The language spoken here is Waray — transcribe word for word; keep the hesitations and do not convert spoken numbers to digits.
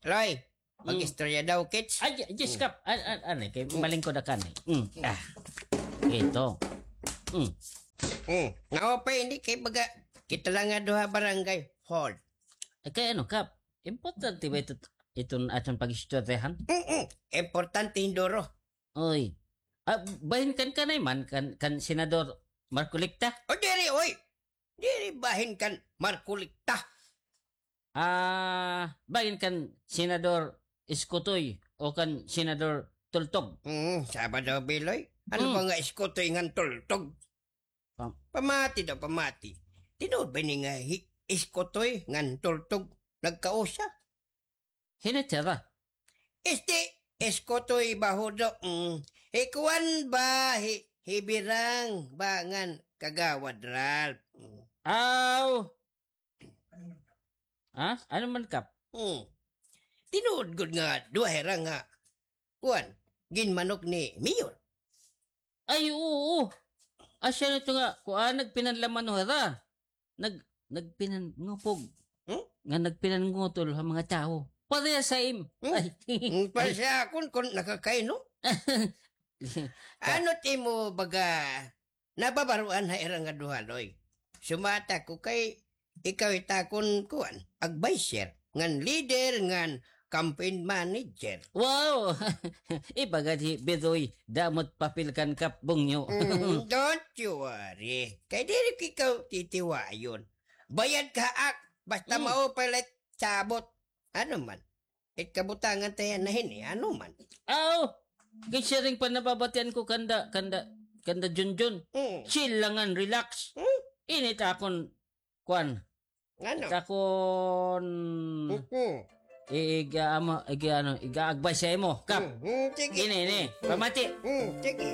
Loy, mag-istorya daw, kits. Ay, yes, Kap. An, an, an, kay malingkod ako, eh. Mm. Ah. Ito. Mm. Mm. Naupay ini kay baga kita la nga duha barangay hall. Eh, kay ano, Kap? Importante ba ito, iton aton pag-istoryahan? Mm-mm. Importante hin duro. Oy. Ah, bahin kan kanay man, kan, kan Senador Marcoleta? O, diri, oy. Diri bahin kan Marcoleta. Ah, bahin kan Senador Iskotoy o kan Senador Tultog? Hmm, saba daw, Biloy. Ano ba nga Iskotoy ngan Tultog? Pamati daw, pamati. Tinuod ba ini nga hi Iskotoy ngan Tultog nagkausa? Hin-o ito ba? Este, Iskotoy ba, Hudo? Mm. Hi kuan ba, hi, hi Birang ba ngan Kagawad Ralph? Mm. Aw! Ha? Ano man, Kap? Hmm. Tinuod gud nga duha hira nga, kuan, ginmanok ni Mayor. Ay, oo. Asya na ito nga, kuan, nagpinanlaman hira. Nag-, nagpinangupog. Hmm? Nga nagpinangutol ha mga tawo. Parehas ha im. Hmm? Ay. Hmm, para sa akon, kung nakakainom. Ano ti mo baga nababaruan ha ira nga duha, Loy? Sumata ko kay ikaw it akon kuan, adviser, ngan leader, ngan campaign manager. Wow! Iba gad hi Bidoy, damo it papel kan Kap Bungyo. Mm, don't you worry. Kay diri ko ikaw titiwayon. Bayad ka ak, basta maupay la it sabot. Ano man? It kabutangan ta yana hini, ano man? Aw! Kay siring pa nababatian ko kanda, kanda, kanda Junjun. Mm. Chill la ngan relax. Mm. Ini it akon, kuan. Ano? It akon, mm-mm, i-, iga-, ama, iga-, ano, iga-advice sa imo, Kap. Mm, mm, sige. Ini, ini, pamati. Mm, sige.